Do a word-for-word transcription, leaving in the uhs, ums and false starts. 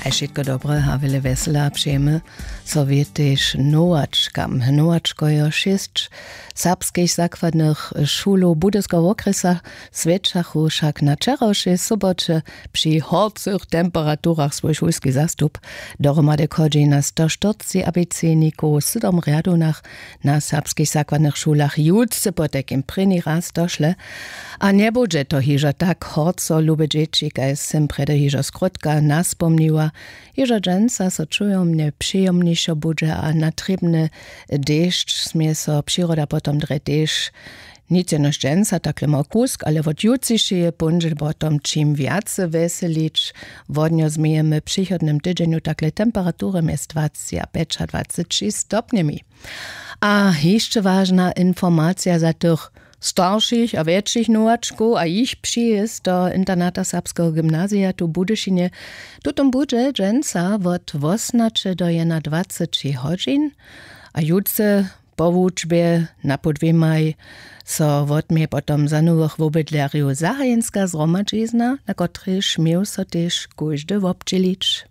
A wšitko dobre a wjele wjesela přejemy. So wětež nowačkam nowačkojo šěsć serbskich zakładnych šulow budyskeho wokrjesa, swjećachu wšak na wčerawšej soboće při horcych temperaturach swój šulski zastup. Dohromady chodźi na sto štyrceći abicejnikow w sydom rjadownach na serbskich zakładnych šulach jutře potajkim prěni raz došle. A njebudźe to hižo tak horco, lube dźěći, kaž sym prjedy hižo skrótka naspomniła. Hižo dźensa so čujomnje přijomnišo budźe a na trěbny dešć smě so přiroda potom drje tež. Nic jenož dźensa takle mał kusk, ale wot jutřišeje póndźel potom ćim wjace wjeselić. Wodnjo změjemy w přichodnym tydźenju takle temperatury mjez dwaceći a pjećadwaceći stopnjemi. A hišće wažna informacija za tych staršich a wjetšich nowačkow a jich přijězd do internata serbskeho gymnazija tu w budyšinje. Tutom budźe dźensa wot wosomnaće do jednadwaceći hodźin. A jutře po wučbje na pół dwěmaj so wotměje potom za nowych wobydlerjow zahajenska zhromadźizna, na kotrejž měł so tež kóždy wobdźělić.